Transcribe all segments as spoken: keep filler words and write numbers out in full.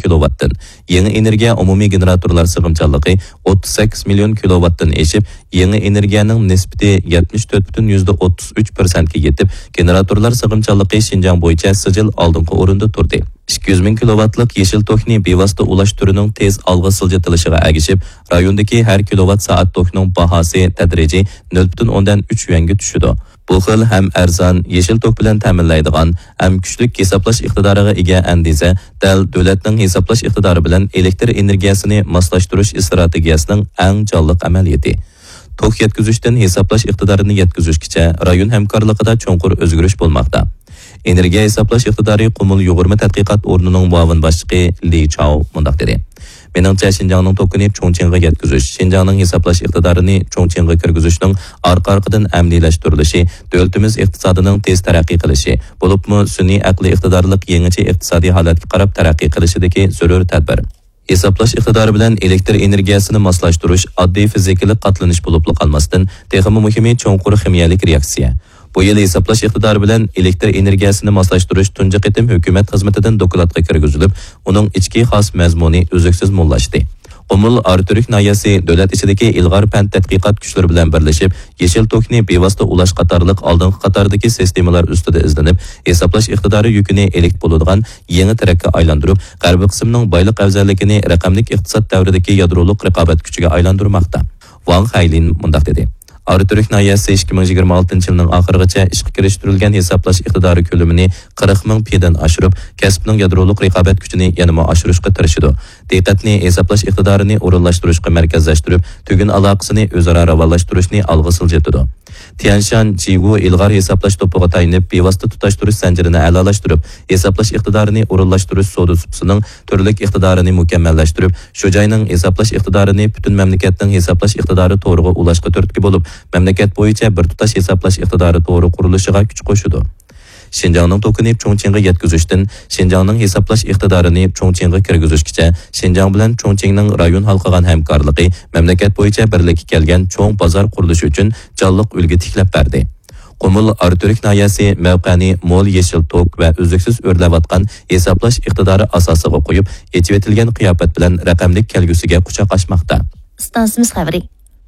كىلوۋاتتىن، يېڭى ئېنېرگىيە ئومۇمىي گېنېراتورلار سىغىمچانلىقى ئوتتۇز سەككىز مىليون كىلوۋاتتىن ئېشىپ، يېڭى ئېنېرگىيەنىڭ نىسبىتى يەتمىش تۆت پۈتۈن يۈزدە ئوتتۇز ئۈچ پىرسەنتكە يېتىپ، گېنېراتورلار سىغىمچانلىقى شىنجاڭ بويىچە سىجىل ئالدىنقى ئورۇندا تۇردى. ئىككى يۈز مىڭ كىلوۋاتلىق يېشىل توكنى بېۋاسىتە ئۇلاش تۈرىنىڭ تېز ئالغا سىلجىتىلىشىغا ئەگىشىپ، رايوندىكى ھەر كىلوۋات سائەت توكنىڭ باھاسى تەدرىجىي نۆل پۈتۈن ئوندىن ئۈچ يۈەنگە چۈشىدۇ. بۇ خىل ھەم ئەرزان، يېشىل توك بىلەن تەمىنلەيدىغان، ھەم كۈچلۈك ھېسابلاش ئىقتىدارىغا ئىگە ئەندىزە دەل دۆلەتنىڭ ھېسابلاش ئىقتىدارى بىلەن ئېلېكتر ئېنېرگىيەسىنى ماسلاشتۇرۇش ئىستراتېگىيەسىنىڭ ئەڭ جانلىق ئەمەلىيىتى. توك يەتكۈزۈشتىن ھېسابلاش ئىقتىدارىنى يەتكۈزۈشكىچە رايون ھەمكارلىقىدا چوڭقۇر ئۆزگىرىش بولماقتا. ئېنېرگىيە ھېسابلاش ئىقتىدارى قۇمۇل يۇغۇرما تەتقىقات ئورنىنىڭ مۇئاۋىن باشلىقى لى چاۋ مۇنداق دېدى: مېنىڭچە، شىنجاڭنىڭ توكىنى چۇڭچىڭغا يەتكۈزۈش، شىنجاڭنىڭ ھېسابلاش ئىقتىدارىنى چۇڭچىڭغا كىرگۈزۈشنىڭ ئارقا-ئارقىدىن ئەمەلىيلەشتۈرۈلۈشى دۆلىتىمىز ئىقتىسادىنىڭ تېز تەرەققىي قىلىشى، بولۇپمۇ سۈنئىي ئەقلىي ئىقتىدارلىق يېڭىچە ئىقتىسادىي ھالەتكە قاراپ تەرەققىي قىلىشىدىكى زۆرۈر تەدبىر. ھېسابلاش ئىقتىدارى بىلەن ئېلېكتر ئېنېرگىيەسىنى ماسلاشتۇرۇش ئاددىي فىزىكىلىق قاتلىنىش بولۇپلا قالماستىن، تېخىمۇ مۇھىمى چوڭقۇر خىمىيەلىك رېئاكسىيە. بۇ يىل ھېسابلاش ئىقتىدارى بىلەن ئېلېكتر ئېنېرگىيەسىنى ماسلاشتۇرۇش تۇنجى قېتىم ھۆكۈمەت خىزمىتىدىن دوكلاتقا كىرگۈزۈلۈپ، ئۇنىڭ ئىچكى خاس مەزمۇنى ئۈزلۈكسىز موللاشتى. قۇمۇل ئاراتۈرك ناھىيەسى دۆلەت ئىچىدىكى ئىلغار پەن تەتقىقات كۈچلىرى بىلەن بىرلىشىپ، يېشىل توكنى بىۋاسىتە ئۇلاش قاتارلىق ئالدىنقى قاتاردىكى سىستېمىلار ئۈستىدە ئىزدىنىپ، ھېسابلاش ئىقتىدارى يۈكىنى ئېلېكتر بولىدىغان يېڭى تىرەككە ئايلاندۇرۇپ، غەربىي قىسىمنىڭ بايلىق ئەۋزەللىكىنى رەقەملىك ئىقتىساد دەۋرىدىكى يادرولۇق رىقابەت كۈچىگە ئايلاندۇرماقتا. ۋاڭ خەيلىن مۇنداق دېدى: ئاراتۈرك ناھىيەسى ئىككى مىڭ يىگىرمە ئالتىنچى يىلنىڭ ئاخىرىغىچە ئىشقا كىرىشتۈرۈلگەن ھېسابلاش ئىقتىدارى كۆلىمىنى قىرىق مىڭ پىدىن ئاشۇرۇپ، كەسىپنىڭ يادرولۇق رىقابەت كۈچىنى يەنىمۇ ئاشۇرۇشقا تىرىشىدۇ. دىققەتنى ھېسابلاش ئىقتىدارىنى ئورۇنلاشتۇرۇشقا مەركەزلەشتۈرۈپ، تۈگۈن ئالاقىسىنى ئۆزئارا راۋانلاشتۇرۇشنى ئالغا سىلجىتىدۇ. تيەنشان جىگۇ ئىلغار ھېسابلاش توپىغا تايىنىپ، بىۋاسىتە تۇتاشتۇرۇش زەنجىرىنى ئەلالاشتۇرۇپ، ھېسابلاش ئىقتىدارىنى ئورۇنلاشتۇرۇش سودا سۇپىسىنىڭ تۈرلۈك ئىقتىدارىنى مۇكەممەللەشتۈرۈپ، شۇ جاينىڭ ھېسابلاش ئىقتىدارىنى پۈتۈن مەملىكەتنىڭ ھېسابلاش ئىقتىدارى تورىغا ئۇلاشقا تۈرتكە بولۇپ، مەملىكەت بويىچە بىر تۇتاش ھېسابلاش ئىقتىدارى تورى قۇرۇلۇشىغا كۈچ قوشىدۇ. شىنجاڭنىڭ توكىنى چۇڭچىڭغا يەتكۈزۈشتىن شىنجاڭنىڭ ھېسابلاش ئىقتىدارىنى چۇڭچىڭغا كىرگۈزۈشكىچە، شىنجاڭ بىلەن چۇڭچىڭنىڭ رايون ھالقىغان ھەمكارلىقى مەملىكەت بويىچە بىرلىككە كەلگەن چوڭ بازار قۇرۇلۇشى ئۈچۈن جانلىق ئۈلگە تىكلەپ بەردى. قۇمۇل ئاراتۈرك ناھىيەسى مەۋقەنى مول يېشىل توك ۋە ئۈزلۈكسىز ئۆرلەۋاتقان ھېسابلاش ئىقتىدارى ئاساسىغا قويۇپ، ئېچىۋېتىلگەن قىياپەت بىلەن رەقەملىك كەلگۈسىگە قۇچاق ئاچماقتا. ئىستانسىمىز خەۋىرى.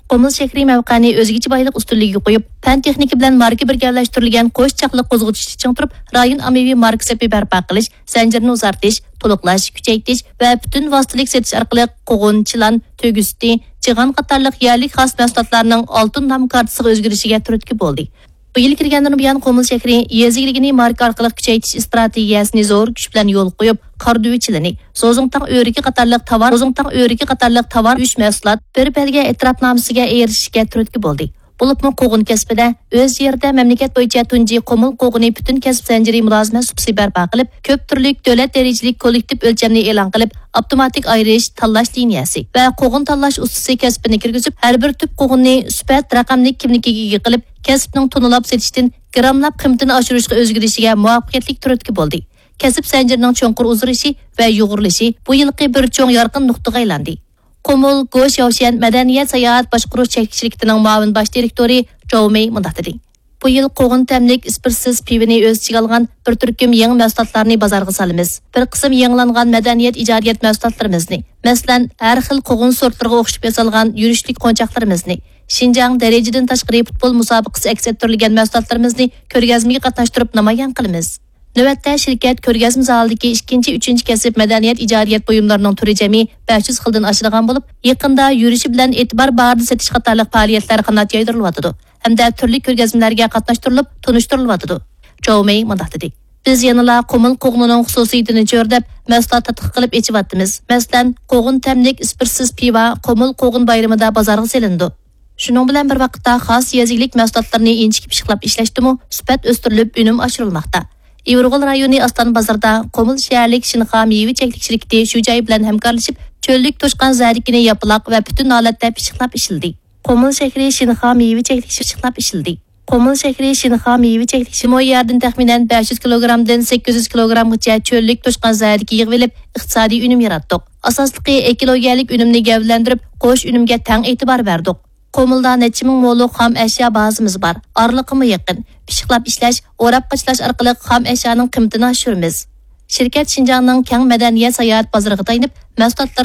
قۇمۇل شەھىرى مەۋقەنى ئۆزگىچە بايلىق ئۈستۈنلۈكىگە قويۇپ، پەن تېخنىكا بىلەن ماركا بىرگەلەشتۈرۈلگەن قوش چاقلىق قوزغىتىشتا چىڭ تۇرۇپ، رايون ئاممىۋى ماركا سېپى بەرپا قىلىش، زەنجىرىنى ئۇزارتىش، تولۇقلاش، كۈچەيتىش ۋە پۈتۈن ۋاسىتىلىك سېتىش ئارقىلىق قوغۇن، چىلان، تۆگە سۈتى، جىغان قاتارلىق يەرلىك خاس مەھسۇلاتلارنىڭ ئالتۇن نام كارتىسىغا ئۆزگىرىشىگە تۈرتكە بولدى. بۇ يىل كىرگەندىن بۇيان، قۇمۇل شەھىرى يېزا ئىگىلىكىنى ماركا ئارقىلىق كۈچەيتىش ئىستراتېگىيەسىنى زور كۈچ بىلەن يولغا قويۇپ، قارادۈۋە چىلىنى، زوزۇڭتاڭ ئۆرۈكى قاتارلىق تاۋار، زوزۇڭتاڭ ئۆرۈكى قاتارلىق تاۋار ئۈچ مەھسۇلات بىر بەلگە ئېتىراپنامىسىگە ئېرىشىشكە تۈرتكە بولدى. بولۇپمۇ قوغۇن كەسپىدە ئۆز يېرىدە مەملىكەت بويىچە تۇنجى قۇمۇل قوغۇنى پۈتۈن كەسىپ زەنجىرى مۇلازىمەت سۇپىسى بەرپا قىلىپ، كۆپ تۈرلۈك دۆلەت دەرىجىلىك كوللېكتىپ ئۆلچەمنى ئېلان قىلىپ، ئاپتوماتىك ئايرىش، تاللاش لىنىيەسى ۋە قوغۇن تاللاش ئۇستىسى كەسپىنى كىرگۈزۈپ، ھەر بىر تۈپ قوغۇننى سۈپەت رەقەملىك كىملىكىگە ئىگە قىلىپ، كەسىپنىڭ توننىلاپ سېتىشتىن گىراملاپ قىممىتىنى ئاشۇرۇشقا ئۆزگىرىشىگە مۇۋەپپەقىيەتلىك تۈرتكە بولدى. كەسىپ زەنجىرىنىڭ چوڭقۇر ئۇزىرىشى ۋە يۇغۇرۇلۇشى بۇ يىلقى بىر چوڭ يارقىن نۇقتىغا ئايلاندى. قۇمۇل گو شياۋشيەن مەدەنىيەت ساياھەت باشقۇرۇش چەكلىك شىركىتىنىڭ مۇئاۋىن باش دىرېكتورى جاۋ مېي مۇنداق دېدى: بۇ يىل قوغۇن تەملىك ئىسپىرتسىز پىۋىنى ئۆز ئىچىگە ئالغان بىر تۈركۈم يېڭى مەھسۇلاتلارنى بازارغا سالىمىز. بىر قىسىم يېڭىلانغان مەدەنىيەت ئىجادىيەت مەھسۇلاتلىرىمىزنى، مەسىلەن، ھەر خىل قوغۇن سورتلىرىغا ئوخشىتىپ ياسالغان يۈرۈشلۈك قونچاقلىرىمىزنى، شىنجاڭ دەرىجىدىن تاشقىرى پۇتبول مۇسابىقىسى ئەكس ئەتتۈرۈلگەن مەھسۇلاتلىرىمىزنى كۆرگەزمىگە قاتناشتۇرۇپ نامايان قىلىمىز. نۆۋەتتە شىركەت كۆرگەزمە زالىدىكى ئىككىنچى، ئۈچىنچى كەسىپ مەدەنىيەت ئىجادىيەت بۇيۇملىرىنىڭ تۈرى جەمئىي بەش يۈز خىلدىن ئاشىدىغان بولۇپ، يېقىندا يۈرۈشى بىلەن ئېتىبار باھادا سېتىش قاتارلىق پائالىيەتلەر قانات يايدۇرۇلۇۋاتىدۇ ھەمدە تۈرلۈك كۆرگەزمىلەرگە قاتناشتۇرۇلۇپ تونۇشتۇرۇلۇۋاتىدۇ. جاۋ مېي مۇنداق دېدى: بىز يەنىلا قۇمۇل قوغۇنىنىڭ خۇسۇسىيىتىنى چۆرىدەپ، مەھسۇلات تەتقىق قىلىپ ئېچىۋاتىمىز. مەسىلەن، قوغۇن تەملىك ئىسپىرتسىز پىۋا قۇمۇل قوغۇن بايرىمىدا بازارغا سېلىنىدۇ. شۇنىڭ بىلەن بىر ۋاقىتتا، خاس يېزا ئىگىلىك مەھسۇلاتلىرىنى ئىنچىكە پىششىقلاپ ئىشلەشتىمۇ سۈپەت ئۆستۈرۈلۈپ، ئۈنۈم ئاشۇرۇلماقتا. ئىۋىرغول رايونى ئاستان بازىرىدا قۇمۇل شەھەرلىك شىنخا مېۋە چەكلىك شىركىتى شۇ جاي بىلەن ھەمكارلىشىپ، چۆللۈك توشقان زەردىكىنى ياپىلاق ۋە پۈتۈن ھالەتتە پىششىقلاپ ئىشلىدى. قۇمۇل شەھىرى شىنخا مېۋە چەكلىك پىششىقلاپ ئىشلىدى. قۇمۇل شەھىرى شىنخا مېۋە چەكلىك شىمو يەردىن تەخمىنەن بەش يۈز كىلوگرامدىن سەككىز يۈز كىلوگرامغىچە چۆللۈك توشقان زەردىكى يىغىۋېلىپ، ئىقتىسادىي ئۈنۈم ياراتتۇق. ئاساسلىقى ئېكولوگىيەلىك ئۈنۈمنى گەۋدىلەندۈرۈپ، قوش ئۈنۈمگە تەڭ ئېتىبار بەردۇق. قۇمۇلدا نەچچە مىڭ مولۇق خام ئەشيا بازىمىز بار. ئارىلىقىمۇ يېقىن. پىششىقلاپ ئىشلەش، ئوراپ قاچىلاش ئارقىلىق خام ئەشيانىڭ قىممىتىنى ئاشۇرىمىز. شىركەت شىنجاڭنىڭ كەڭ مەدەنىيەت ساياھەت بازىرىغا تايىنىپ، مەھسۇلاتلىرىنى